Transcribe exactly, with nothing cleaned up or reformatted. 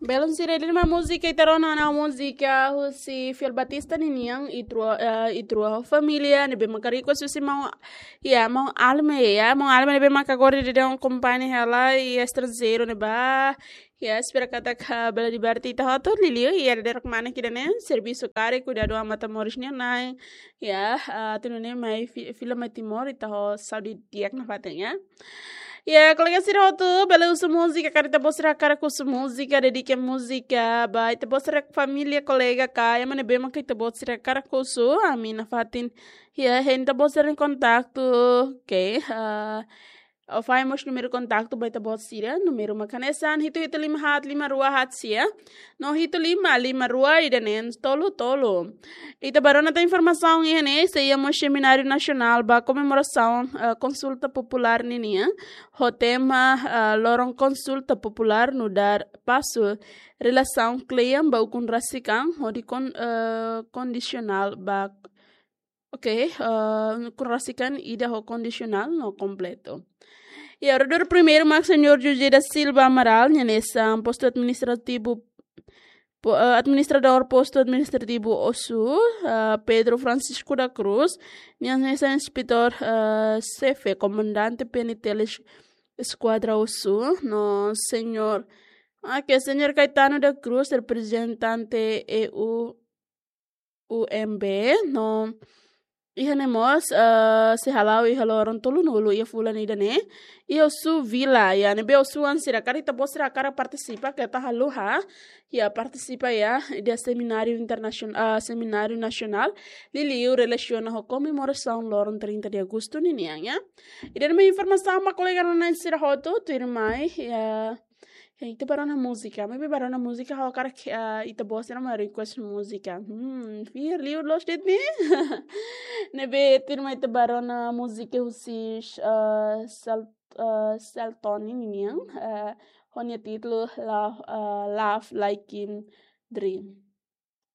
Belun sira, ida-ne'e mak múzika ita rona ona, múzika husi Fiel Batista ninian, Ita Rua, eh, Ita Rua ho Família, ne'ebé maka request husi maun, ya, maun Alme, ya, maun Alme ne'ebé maka agora daudaun akompaña hela iha estranjeiru ne'ebá, ya, espera katak bele diverte ita hotu, liuliu iha dadeer-saan ida-ne'e, servisu karik, kuidadu an matan-moris nian, ya, ah, atu nune'e mai fi-, fila mai Timor, ita ho saúde di'ak nafatin, ya. Ya, kolega sira hotu, bele husu múzika, karik ita-boot sira hakarak husu múzika, dedika múzika ba ita-boot sira família, kolega ka, ema ne'ebé maka ita-boot sira hakarak husu, ami nafatin, ya, hein ita-boot sira-nia kontaktu, oke, ah, ou fahe mós númeru kontaktu ba ita-boot sira, númeru mak hanesan hitu hitu lima haat lima rua haat sia, no hitu lima lima rua ida neen tolu tolu. Ita bá rona tan informasaun iha ne'e, sei iha mós semináriu nasionál ba komemorasaun, eh, konsulta populár ninian, ho tema, eh, loron konsulta populár nu'udar pasu relasaun kle'an ba ukun rasik an, hodi kon-, eh, kondisionál ba, oke, eh, ukun rasik an ida ho kondisionál no kompletu. Ya, oradór primeiru mak Señór José da Silva Amaral, nia hanesan postu administrativu, po-, eh, administradór postu administrativu Ossu, eh, Pedro Francisco da Cruz, nia hanesan inspetór, eh, xefe, komandante P N T L es-, Eskuadra Ossu, no Señór, ah, ke Señór Caetano da Cruz, reprezentante E U, U M B, no iha ne'e mós, eh, sei hala'o iha loron tolunulu iha fulan ida-ne'e, iha Ossu Vila, ya, ne'ebé Ossu-an sira, karik ita-boot sira hakarak partisipa, keta haluha, ya, partisipa, ya, iha semináriu internasionál, ah, semináriu nasionál, liuliu relasiona ho komemorasaun loron trinta de agosto ninian, ya. Ida-ne'e mak informasaun ba kolega rona sira hotu, tuirmai, ya, ya, ita bá rona múzika, maibé bá rona múzika, ha'u hakarak, ah, ita-boot sira mak request múzika. Hmm, fiar liu loos de'it ne'e. Ne'ebé tuirmai ita bá rona múzika husi, ah, Sel-, ah, Selton ninian, ah, ho nia títulu Love, ah, Love Like a Dream.